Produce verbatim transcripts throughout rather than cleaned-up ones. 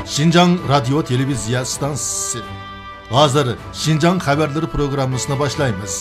شىنجاڭ رادىيو تېلېۋىزىيە ئىستانسىسى. ھازىر شىنجاڭ خەۋەرلىرى پروگراممىسىنى باشلايمىز.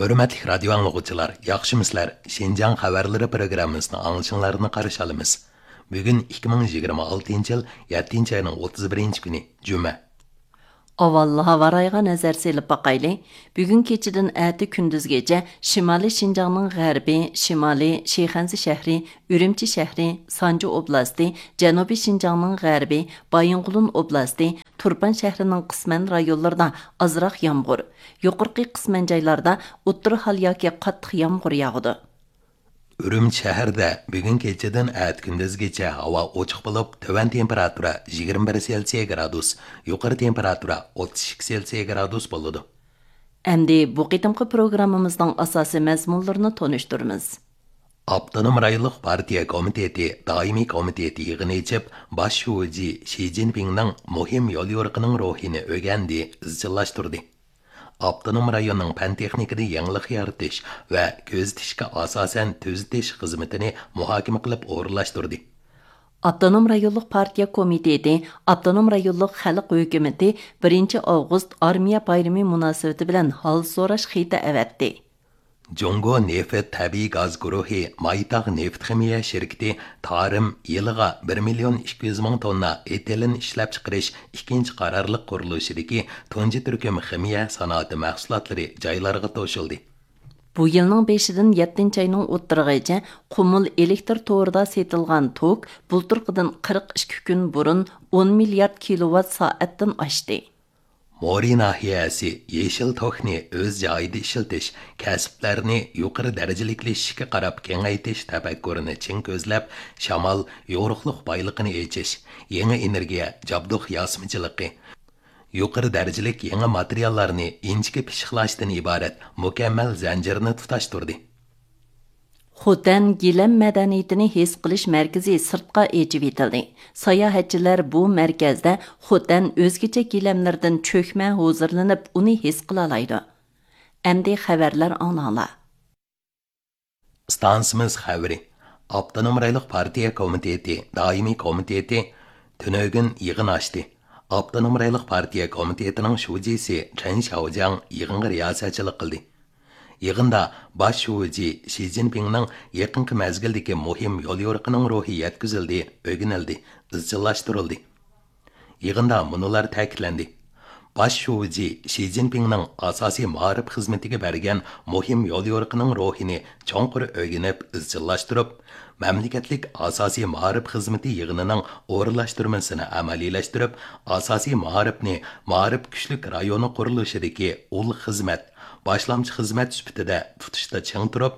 ھۆرمەتلىك رادىيو ئاڭلىغۇچىلار، ياخشىمۇسىلەر؟ شىنجاڭ خەۋەرلىرى پروگراممىسىنى ئاڭلىشىڭلارنى قارشى ئالىمىز. بۈگۈن ئىككى مىڭ يىگىرمە ئالتىنچى يىل يەتتىنچى ئاينىڭ ئوتتۇز بىرىنچى كۈنى، جۈمە. ئاۋۋال ھاۋا رايىغا نەزەر سېلىپ باقايلى. بۈگۈن كېچىدىن ئەتە كۈندۈزگىچە شىمالىي شىنجاڭنىڭ غەربى، شىمالىي شىخەنزە شەھىرى، ئۈرۈمچى شەھىرى، سانجى ئوبلاستى، جەنۇبىي شىنجاڭنىڭ غەربى، بايىنغولىن ئوبلاستى، تۇرپان شەھىرىنىڭ قىسمەن رايونلىرىدا ئازراق يامغۇر، يۇقىرىقى قىسمەن جايلاردا ئوتتۇرا ھال ياكى قاتتىق يامغۇر ياغىدۇ. ئۈرۈمچى شەھىرىدە بۈگۈن كېچىدىن ئەتە كۈندۈزگىچە ھاۋا ئوچۇق بولۇپ، تۆۋەن تېمپېراتۇرا يىگىرمە بىر سېلسىيە گرادۇس، يۇقىرى تېمپېراتۇرا ئوتتۇز ئىككى سېلسىيە گرادۇس بولىدۇ. ئەمدى بۇ قېتىمقى پروگراممىمىزنىڭ ئاساسىي مەزمۇنلىرىنى تونۇشتۇرىمىز. ئاپتونوم رايونلۇق پارتىيە كومىتېتى دائىمىي كومىتېتى يىغىنى ئېچىپ، باش شۇجى شى جىنپىڭنىڭ مۇھىم يوليورۇقىنىڭ روھىنى ئۆگەندى، ئىزچىللاشتۇردى. ئاپتونوم رايوننىڭ پەن تېخنىكىدا يېڭىلىق يارىتىش ۋە كۆزىتىشكە ئاساسەن تۈزىتىش خىزمىتىنى مۇھاكىمە قىلىپ ئورۇنلاشتۇردى. ئاپتونوم رايونلۇق پارتىيە كومىتېتى ئاپتونوم رايونلۇق خەلق ھۆكۈمىتى بىرىنچى ئاۋغۇست ئارمىيە بايرىمى مۇناسىۋىتى بىلەن ھال سوراش خېتى ئەۋەتتى. جۇڭگو نېفىت تەبىئىي گاز گۇرۇھى مايتاغ نېفىت خىمىيە شىركىتى تارىم يىلىغا بىر مىليون ئىككى يۈز مىڭ توننا ئېتىلېن ئىشلەپچىقىرىش ئىككىنچى قارارلىق قۇرۇلۇشىدىكى تۇنجى تۈركۈم خىمىيە سانائىتى مەھسۇلاتلىرى جايلارغا توشۇلدى. بۇ يىلنىڭ بېشىدىن يەتتىنچى ئاينىڭ ئوتتۇرىغىچە قۇمۇل ئېلېكتر تورىدا سېتىلغان توك بۇلتۇرقىدىن قىرىق ئىككى كۈن بۇرۇن ئون مىليارد كىلوۋات سائەتتىن ئاشتى. مورى ناھىيەسى يېشىل توكنى ئۆز جايىدا ئىشلىتىش، كەسىپلەرنى يۇقىرى دەرىجىلىكلىشىشكە قاراپ كېڭەيتىش تەپەككۇرىنى چىڭ كۆزلەپ، شامال، يورۇقلۇق بايلىقىنى ئېچىش، يېڭى ئېنېرگىيە، جابدۇق ياسىمىچىلىقى، يۇقىرى دەرىجىلىك يېڭى ماتېرىياللارنى ئىنچىكە پىششىقلاشتىن ئىبارەت مۇكەممەل زەنجىرنى تۇتاشتۇردى. خوتەن گىلەم مەدەنىيىتىنى ھېس قىلىش مەركىزى سىرتقا ئېچىۋېتىلدى. ساياھەتچىلەر بۇ مەركەزدە خوتەن ئۆزگىچە گىلەملىرىدىن چۆكمە ھۇزۇرلىنىپ، ئۇنى ھېس قىلالايدۇ. ئەمدى خەۋەرلەر ئاڭلاڭلار. ئىستانسىمىز خەۋىرى. ئاپتونوم رايونلۇق پارتىيە كومىتېتى دائىمىي كومىتېتى تۈنۈگۈن يىغىن ئاچتى. ئاپتونوم رايونلۇق پارتىيە كومىتېتىنىڭ شۇجىسى چېن شياۋجياڭ يىغىنغا رىياسەتچىلىك قىلدى. يىغىندا باش شۇجى شى جىنپىڭنىڭ يېقىنقى مەزگىلدىكى مۇھىم يوليورۇقىنىڭ روھى يەتكۈزۈلدى، ئۆگىنىلدى، ئىزچىللاشتۇرۇلدى. يىغىندا مۇنۇلار تەكىتلەندى: باش شۇجى شى جىنپىڭنىڭ ئاساسىي مائارىپ خىزمىتىگە بەرگەن مۇھىم يوليورۇقىنىڭ روھىنى چوڭقۇر ئۆگىنىپ ئىزچىللاشتۇرۇپ، مەملىكەتلىك ئاساسىي مائارىپ خىزمىتى يىغىنىنىڭ ئورۇنلاشتۇرمىسىنى ئەمەلىيلەشتۈرۈپ، ئاساسىي مائارىپنى مائارىپ كۈچلۈك رايونى قۇرۇلۇشىدىكى ئۇل خىزمەت، باشلامچى خىزمەت سۈپىتىدە تۇتۇشتا چىڭ تۇرۇپ،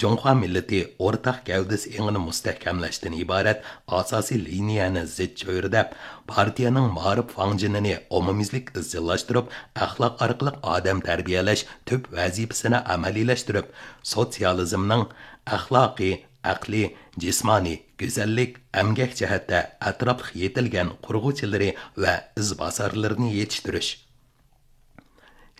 جۇڭخۇا مىللىتى ئورتاق گەۋدىسى ئېڭىنى مۇستەھكەملەشتىن ئىبارەت ئاساسىي لىنىيەنى زىچ چۆرىدەپ، پارتىيەنىڭ مائارىپ فاڭجېنىنى ئومۇميۈزلۈك ئىزچىللاشتۇرۇپ، ئەخلاق ئارقىلىق ئادەم تەربىيەلەش تۈپ ۋەزىپىسىنى ئەمەلىيلەشتۈرۈپ، سوتسىيالىزمنىڭ ئەخلاقىي، ئەقلىي، جىسمانىي، گۈزەللىك، ئەمگەك جەھەتتە ئەتراپلىق يېتىلگەن قۇرغۇچىلىرى ۋە ئىزباسارلىرىنى يېتىشتۈرۈش.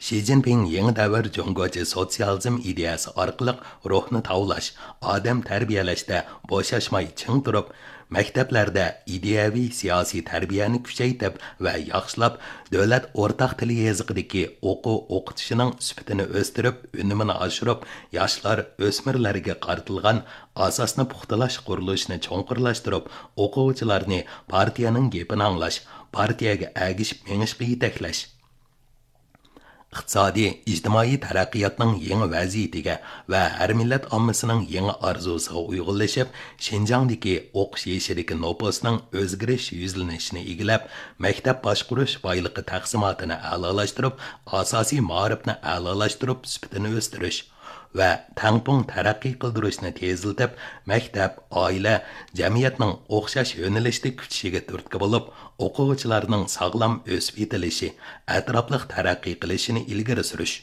شى جىنپىڭ يېڭى دەۋر جۇڭگوچە سوتسىيالىزم ئىدىيەسى ئارقىلىق روھنى تاۋلاش، ئادەم تەربىيەلەشتە بوشاشماي چىڭ تۇرۇپ، مەكتەپلەردە ئىدىيەۋى سىياسىي تەربىيەنى كۈچەيتىپ ۋە ياخشىلاپ، دۆلەت ئورتاق تىل يېزىقىدىكى ئوقۇ ئوقۇتۇشىنىڭ سۈپىتىنى ئۆستۈرۈپ، ئۈنۈمىنى ئاشۇرۇپ، ياشلار، ئۆسمۈرلەرگە قارىتىلغان ئاساسنى پۇختىلاش قۇرۇلۇشىنى چوڭقۇرلاشتۇرۇپ، ئوقۇغۇچىلارنى پارتىيەنىڭ گېپىنى ئاڭلاش، پارتىيەگە ئەگىشىپ مېڭىشقا يېتەكلەش. ئىقتىسادىي، ئىجتىمائىي تەرەققىياتنىڭ يېڭى ۋەزىيىتىگە ۋە ھەر مىللەت ئاممىسىنىڭ يېڭى ئارزۇسىغا ئۇيغۇنلىشىپ، شىنجاڭدىكى ئوقۇش يېشىدىكى نوپۇسنىڭ ئۆزگىرىش يۈزلىنىشىنى ئىگىلەپ، مەكتەپ باشقۇرۇش بايلىقى تەقسىماتىنى ئەلالاشتۇرۇپ، ئاساسىي مائارىپنى ئەلالاشتۇرۇپ، سۈپىتىنى ئۆستۈرۈش ۋە تەڭپۇڭ تەرەققىي قىلدۇرۇشنى تېزلىتىپ، مەكتەپ، ئائىلە، جەمئىيەتنىڭ ئوخشاش يۆنىلىشتە كۈچىشىگە تۈرتكە بولۇپ، ئوقۇغۇچىلارنىڭ ساغلام ئۆسۈپ يېتىلىشى، ئەتراپلىق تەرەققىي قىلىشىنى ئىلگىرى سۈرۈش.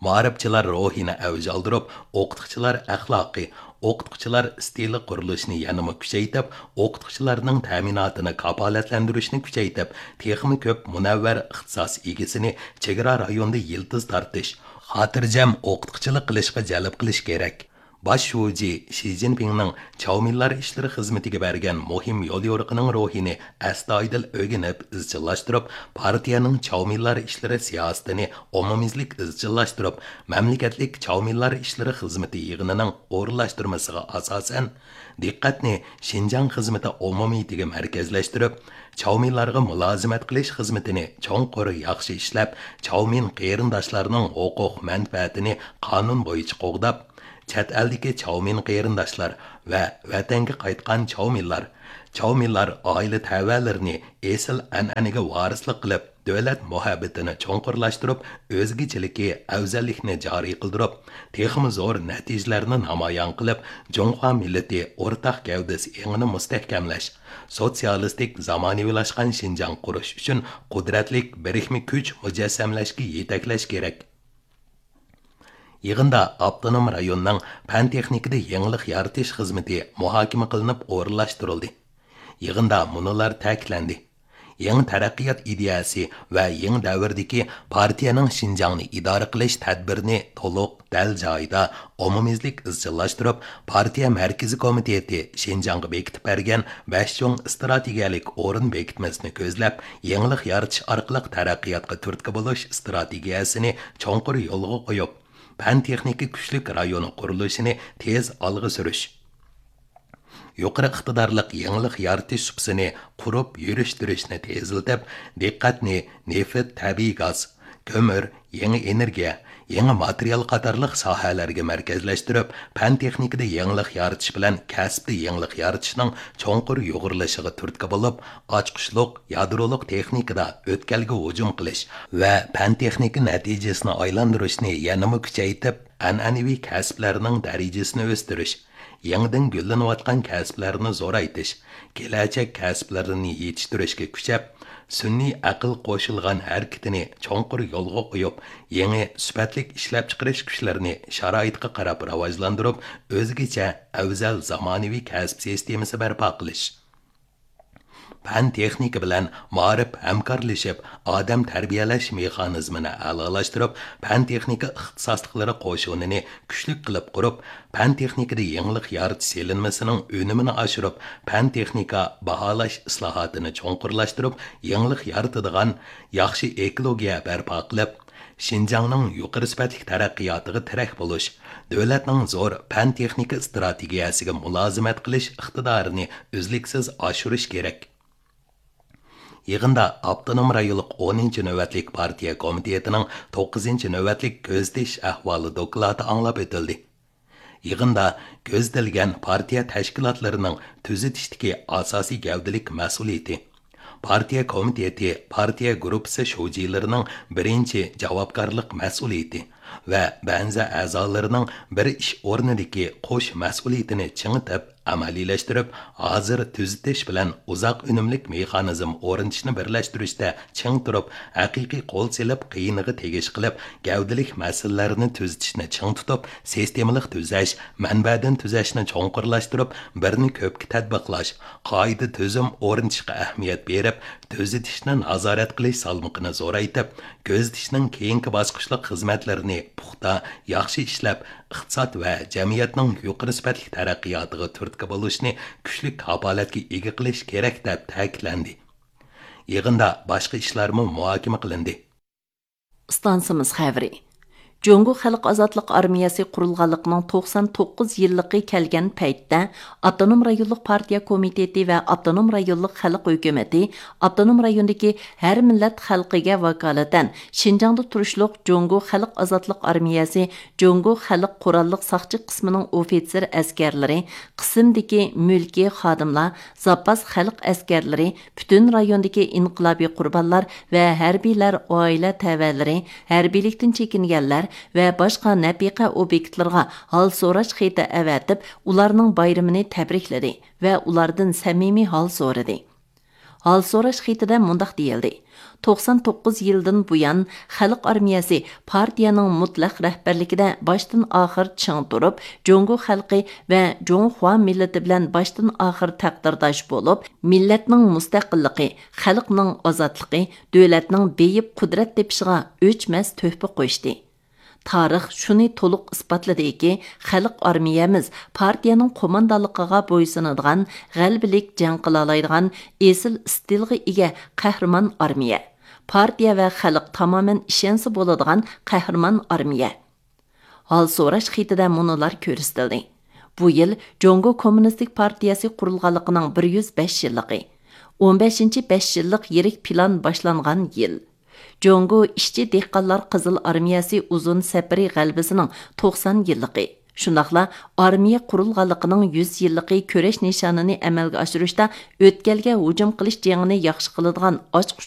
مائارىپچىلار روھىنى ئەۋج ئالدۇرۇپ، ئوقۇتقۇچىلار ئەخلاقى، ئوقۇتقۇچىلار ئىستىلى قۇرۇلۇشىنى يەنىمۇ كۈچەيتىپ، ئوقۇتقۇچىلارنىڭ تەمىناتىنى كاپالەتلەندۈرۈشنى كۈچەيتىپ، تېخىمۇ كۆپ مۇنەۋۋەر ئىختىساس ئىگىسىنى چېگرا رايوندا يىلتىز تارتىش، خاتىرجەم ئوقۇتقۇچىلىق قىلىشقا جەلپ قىلىش كېرەك. باش شۇجى شى جىنپىڭنىڭ چاۋمىنلار ئىشلىرى خىزمىتىگە بەرگەن مۇھىم يوليورۇقىنىڭ روھىنى ئەستايىدىل ئۆگىنىپ ئىزچىللاشتۇرۇپ، پارتىيەنىڭ چاۋمىنلار ئىشلىرى سىياسىتىنى ئومۇميۈزلۈك ئىزچىللاشتۇرۇپ، مەملىكەتلىك چاۋمىنلار ئىشلىرى خىزمىتى يىغىنىنىڭ ئورۇنلاشتۇرمىسىغا ئاساسەن، دىققەتنى شىنجاڭ خىزمىتى ئومۇمىيىتىگە مەركەزلەشتۈرۈپ، چاۋمىنلارغا مۇلازىمەت قىلىش خىزمىتىنى چوڭقۇر ياخشى ئىشلەپ، چاۋمىن قېرىنداشلارنىڭ ھوقۇق مەنپەئەتىنى قانۇن بويىچە قوغداپ، چەت ئەلدىكى چاۋمىن قېرىنداشلار ۋە ۋەتەنگە قايتقان چاۋمىنلار، چاۋمىنلار ئائىلە تەۋەلىرىنى ئېسىل ئەنئەنىگە ۋارىسلىق قىلىپ، دۆلەت مۇھەببىتىنى چوڭقۇرلاشتۇرۇپ، ئۆزگىچىلىكى، ئەۋزەللىكنى جارى قىلدۇرۇپ، تېخىمۇ زور نەتىجىلەرنى نامايان قىلىپ، جۇڭخۇا مىللىتى ئورتاق گەۋدىسى ئېڭىنى مۇستەھكەملەش، سوتسىيالىستىك زامانىۋىلاشقان شىنجاڭ قۇرۇش ئۈچۈن قۇدرەتلىك بىرىكمە كۈچ مۇجەسسەملەشكە يېتەكلەش كېرەك. يىغىندا ئاپتونوم رايوننىڭ پەن تېخنىكىدا يېڭىلىق يارىتىش خىزمىتى مۇھاكىمە قىلىنىپ ئورۇنلاشتۇرۇلدى. يىغىندا مۇنۇلار تەكىتلەندى: يېڭى تەرەققىيات ئىدىيەسى ۋە يېڭى دەۋردىكى پارتىيەنىڭ شىنجاڭنى ئىدارە قىلىش تەدبىرىنى تولۇق، دەل جايىدا، ئومۇميۈزلۈك ئىزچىللاشتۇرۇپ، پارتىيە مەركىزىي كومىتېتى شىنجاڭغا بېكىتىپ بەرگەن بەش چوڭ ئىستراتېگىيەلىك ئورۇن بېكىتمىسىنى كۆزلەپ، يېڭىلىق يارىتىش ئارقىلىق تەرەققىياتقا تۈرتكە بولۇش ئىستراتېگىيەسىنى چوڭقۇر يولغا قويۇپ، پەن تېخنىكا كۈچلۈك رايونى قۇرۇلۇشىنى تېز ئالغا سۈرۈش، يۇقىرى ئىقتىدارلىق يېڭىلىق يارىتىش سۇپىسىنى قۇرۇپ يۈرۈشتۈرۈشنى تېزلىتىپ، دىققەتنى نېفىت، تەبىئىي گاز، كۆمۈر، يېڭى ئېنېرگىيە، يېڭى ماتېرىيال قاتارلىق ساھەلەرگە مەركەزلەشتۈرۈپ، پەن تېخنىكىدا يېڭىلىق يارىتىش بىلەن كەسىپتە يېڭىلىق يارىتىشنىڭ چوڭقۇر يۇغۇرۇلۇشىغا تۈرتكە بولۇپ، ئاچقۇچلۇق، يادرولۇق تېخنىكىدا ئۆتكەلگە ھۇجۇم قىلىش ۋە پەن تېخنىكا نەتىجىسىنى ئايلاندۇرۇشنى يەنىمۇ كۈچەيتىپ، ئەنئەنىۋى كەسىپلەرنىڭ دەرىجىسىنى ئۆستۈرۈش، يېڭىدىن گۈللىنىۋاتقان كەسىپلەرنى زورايتىش، كېلەچەك كەسىپلىرىنى يېتىشتۈرۈشكە كۈچەپ، سۈنئىي ئەقىل قوشۇلغان ھەرىكىتىنى چوڭقۇر يولغا قويۇپ، يېڭى سۈپەتلىك ئىشلەپچىقىرىش كۈچلىرىنى شارائىتقا قاراپ راۋاجلاندۇرۇپ، ئۆزگىچە ئەۋزەل زامانىۋى كەسىپ سىستېمىسى بەرپا قىلىش. پەن تېخنىكا بىلەن مائارىپ ھەمكارلىشىپ، ئادەم تەربىيەلەش مېخانىزمىنى ئەلالاشتۇرۇپ، پەن تېخنىكا ئىختىساسلىقلىرى قوشۇنىنى كۈچلۈك قىلىپ قۇرۇپ، پەن تېخنىكىدا يېڭىلىق يارىتىش سېلىنمىسىنىڭ ئۈنۈمىنى ئاشۇرۇپ، پەن تېخنىكا باھالاش ئىسلاھاتىنى چوڭقۇرلاشتۇرۇپ، يېڭىلىق يارىتىدىغان ياخشى ئېكولوگىيە بەرپا قىلىپ، شىنجاڭنىڭ يۇقىرى سۈپەتلىك تەرەققىياتىغا تىرەك بولۇش، دۆلەتنىڭ زور پەن تېخنىكا ئىستراتېگىيەسىگە مۇلازىمەت قىلىش ئىقتىدارىنى ئۈزلۈكسىز ئاشۇرۇش كېرەك. يىغىندا ئاپتونوم رايونلۇق ئونىنچى نۆۋەتلىك پارتىيە كومىتېتىنىڭ توققۇزىنچى نۆۋەتلىك كۆزىتىش ئەھۋالى دوكلاتى ئاڭلاپ ئۆتۈلدى. يىغىندا كۆزىتىلگەن پارتىيە تەشكىلاتلىرىنىڭ تۈزىتىشتىكى ئاساسىي گەۋدىلىك مەسئۇلىيىتى، پارتىيە كومىتېتى، پارتىيە گۇرۇپپىسى شۇجىلىرىنىڭ بىرىنچى جاۋابكارلىق مەسئۇلىيىتى ۋە بەنزە ئەزالىرىنىڭ بىر ئىش ئورنىدىكى قوش مەسئۇلىيىتىنى چىڭىتىپ، ئەمەلىيلەشتۈرۈپ، ھازىر تۈزىتىش بىلەن ئۇزاق ئۈنۈملۈك مېخانىزم ئورنىتىشنى بىرلەشتۈرۈشتە چىڭ تۇرۇپ، ھەقىقىي قول سېلىپ، قىيىنىغا تېگىش قىلىپ، گەۋدىلىك مەسىلىلەرنى تۈزىتىشنى چىڭ تۇتۇپ، سىستېمىلىق تۈزەش، مەنبەدىن تۈزەشنى چوڭقۇرلاشتۇرۇپ، بىرنى كۆپكە تەتبىقلاش، قائىدە، تۈزۈم ئورنىتىشقا ئەھمىيەت بېرىپ، تۈزىتىشنى نازارەت قىلىش سالمىقىنى زورايتىپ، كۆزىتىشنىڭ كېيىنكى باسقۇچلۇق خىزمەتلىرىنى پۇختا، ياخشى ئىشلەپ، ئىقتىساد ۋە جەمئىيەتنىڭ يۇقىرى سۈپەتلىك تەرەققىياتىغا تۈرتكە بولۇشنى كۈچلۈك كاپالەتكە ئىگە قىلىش كېرەك، دەپ تەكىتلەندى. يىغىندا باشقا ئىشلارمۇ مۇھاكىمە قىلىندى. ئىستانسىمىز خەۋىرى. جۇڭگو خەلق ئازادلىق ئارمىيەسى قۇرۇلغانلىقىنىڭ توقسان توققۇز يىللىقى كەلگەن پەيتتە، ئاپتونوم رايونلۇق پارتىيە كومىتېتى ۋە ئاپتونوم رايونلۇق خەلق ھۆكۈمىتى ئاپتونوم رايوندىكى ھەر مىللەت خەلقىگە ۋاكالىتەن شىنجاڭدا تۇرۇشلۇق جۇڭگو خەلق ئازادلىق ئارمىيەسى جۇڭگو خەلق قوراللىق ساقچى قىسمىنىڭ ئوفىتسېر ئەسكەرلىرى، قىسىمدىكى مۈلكىي خادىملار، زاپاس خەلق ئەسكەرلىرى، پۈتۈن رايوندىكى ئىنقىلابىي قۇربانلار ۋە ھەربىيلەر ئائىلە تەۋەلىرى، ھەربىيلىكتىن چېكىنگەنلەر ۋە باشقا نەپىقە ئوبيېكتلىرىغا ھال سوراش خېتى ئەۋەتىپ، ئۇلارنىڭ بايرىمىنى تەبرىكلىدى ۋە ئۇلاردىن سەمىمىي ھال سورىدى. ھال سوراش خېتىدە مۇنداق دېيىلدى: توقسان توققۇز يىلدىن بۇيان، خەلق ئارمىيەسى پارتىيەنىڭ مۇتلەق رەھبەرلىكىدە باشتىن ئاخىر چىڭ تۇرۇپ، جۇڭگو خەلقى ۋە جۇڭخۇا مىللىتى بىلەن باشتىن ئاخىر تەقدىرداش بولۇپ، مىللەتنىڭ مۇستەقىللىقى، خەلقنىڭ ئازادلىقى، دۆلەتنىڭ بېيىپ قۇدرەت تېپىشىغا ئۆچمەس تۆھپە قوشتى. تارىخ شۇنى تولۇق ئىسپاتلىدىكى، خەلق ئارمىيەمىز پارتىيەنىڭ قوماندانلىقىغا بويسۇنىدىغان، غەلىبىلىك جەڭ قىلالايدىغان ئېسىل ئىستىلغا ئىگە قەھرىمان ئارمىيە. پارتىيە ۋە خەلق تامامەن ئىشەنسە بولىدىغان قەھرىمان ئارمىيە. ھال سوراش خېتىدە مۇنۇلار كۆرسىتىلدى: بۇ يىل جۇڭگو كوممۇنىستىك پارتىيەسى قۇرۇلغانلىقىنىڭ بىر يۈز بەش يىللىقى، ئون بەشىنچى بەش يىللىق يىرىك پىلان باشلانغان يىل، جۇڭگو ئىشچى دېھقانلار قىزىل ئارمىيەسى ئۇزۇن سەپىرى غەلىبىسىنىڭ توقسان يىللىقى، شۇنداقلا ئارمىيە قۇرۇلغانلىقىنىڭ يۈز يىللىقى كۈرەش نىشانىنى ئەمەلگە ئاشۇرۇشتا ئۆتكەلگە ھۇجۇم قىلىش جېڭىنى ياخشى قىلىدىغان ئاچقۇچ